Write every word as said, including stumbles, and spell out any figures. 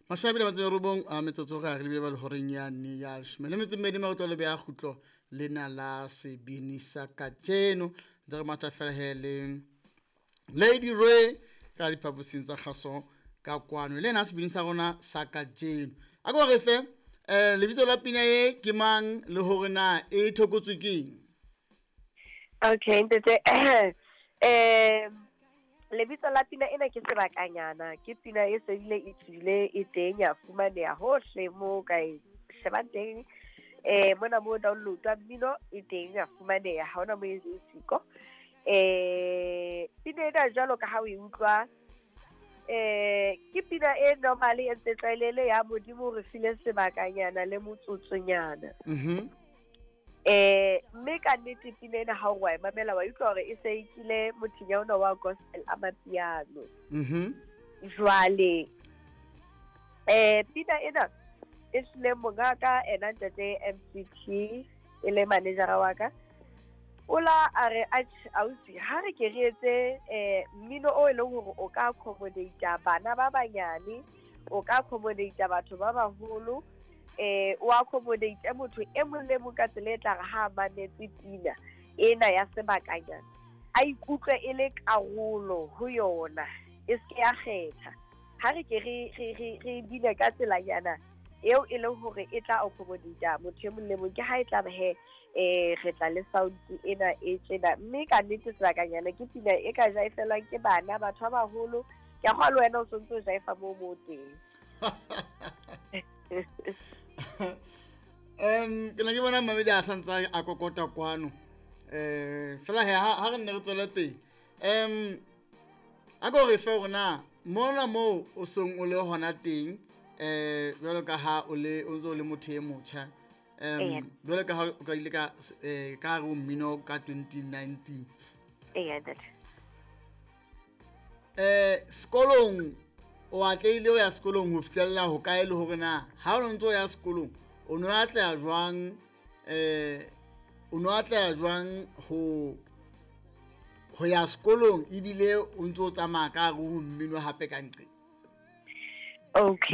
Mashome a mabedi a metso e robong a metsotso re a re lebile ba le horeng yane ya leshome le metso e mmedi maoto le beha kgutlo lena la sebini sa kajeno. Ntse re matha fela he le Lady Ray ka diphaposing tsa kgaso ka kwano le ena sebini sa rona sa kajeno. A ko re fe eh lebitso la pina e ke mang le hore na e thokotswe keng? Okay ntate, eh lebitso la pina ena ke Sebakanyana. Ke pina e sedile e tswile e teng, ya fumaneha hohle mo ka e shebang teng. Eh mona mo download-wa mmino e teng ya fumaneha, ha hona mo e leng siko. Eh pina ena jwalo ka ha o e utlwa, eh ke pina e normal e ntse tlwaelehile ya Modimo re file sebakanyana le motsotsonyana. Mhm. Eh mme ka nnete pina ena ha o wa e mamela wa utlwa hore e se e kile mothinya ona wa gospel a mapiano. Mhm. Jwale eh pina ena e hlile mongaka ena ntate M C T e le manager wa ka. Ola a re atjhe ausi ha re ke re etse eh mmino o e leng hore o ka accommodate bana ba banyane, o ka accommodate batho ba baholo, eh o accommodate motho e mong le mong ka tsela e tla re ha mametse pina ena ya Sebakanyana a ikutlwe e le karolo ho yona, e se ke ya kgetha. Ha re ke re, re, re, re bine ka tselanyana eo e leng hore e tla accommodate motho e mong le mong. Ke ha e tla ba he, eh, re tla le sound ena e tjena. Mme ka nnete Sebakanyana ke pina e ka jaifelwang ke bana, batho ba baholo. Ke a kgolwa le wena o sontso o jaifa moo moo teng. Um, ke ne ke bona mamedi a santse a kokota kwano. Eh, fela he, ha, ha re nne re tswele pele. Um, a ko re fe hore na mona moo o seng o le hona teng, eh, jwalo ka ha o le, o ntse o le motho e motjha. Um, Eya. jwalo ka ha o qadile ka, eh, ka hare ho mmino ka twenty nineteen. Eya, ntate. Eh, sekolong o atlehile ho ya sekolong ho fihlella ho kae, le hore na ha o ntse o ya sekolong o no atleha jwang, eh, o no atleha jwang ho, ho ya sekolong ebile o ntse o tsamaya ka hare ho mmino hape ka nqeng? Okay.